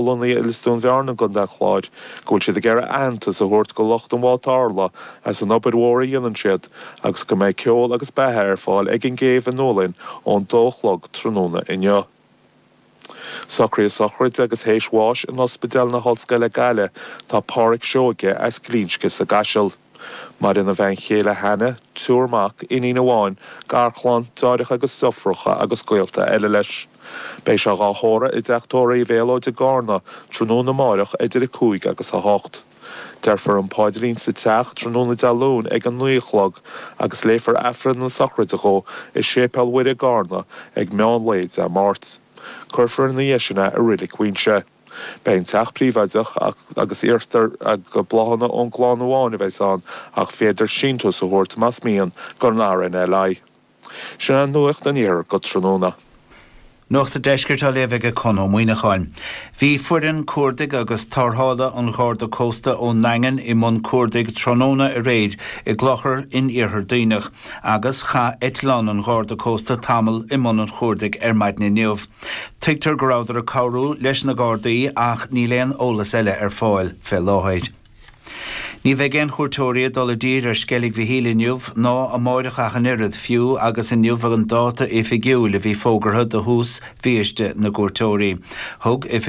Lonnaithe i Lios Dúin Bhearna i gContae an Chláir, go bhfuil siad ag iarraidh aitheantas a thabhairt go lucht an bhád tarrthála as an obair mhór a dhéanann siad agus go mbeidh ceol agus beatha ar fáil ag an gcéibh i nDúlainn ón dó a chlog tráthnóna inniu. Socraithe sochraide agus théis bháis in Ospidéal na hOllscoile Gaillimh tá Páraic Seoige as Glinsce sa gCaiseal. Maireann a bhean chéile Hannah, triúr mac, iníon amháin, garchlann, deartháireacha agus deirfiúracha agus gaolta eile leis. Beidh sé dhá thórramh i dteach tórraimh Uí Mhéalóid i gCarna tráthnóna amáireach idir 5 agus 8. Déarfar an paidrín sa teach tráthnóna Dé Luain ag a 9 a chlog agus léifear Aifreann na sochraide dhó i Séipéal Mhuire i gCarna ag meán lae Dé Máirt. Cuirfear ina dhiaidh sin é i Reilig Mhuighinse. Beidh an teach príobháideach agus iarrtar gur bláthanna ón gclann amháin a bheas ann ach féadtar síntiús a thabhairt más mian don RNLI. Sin é Nuacht an Iarthair go tráthnóna. Nuacht an Deiscirt á léamh ag Conn Ó Muíneacháin. Bhí foireann cuardaigh agus tarrthála an Gharda Cósta ón nDaingean i mbun cuardaigh tráthnóna aréir i gClochar in iarthar Duibhneach agus chaith eitleán an Gharda Cósta tamall i mbun an chuardaigh ar maidin inniu. Tuigtear go rabhadar ag cabhrú leis na Gardaí ach níl aon eolas eile ar fáil fé láthair. Ní bheidh aon chuairteoirí ag dul i dtír ar Sceilg Mhichíl inniu ná amáireach ach an oiread, fiú agus inniu an dáta oifigiúil a bhí fógartha do thús bhiaiste na gcuairteoirí. Thug Oifig.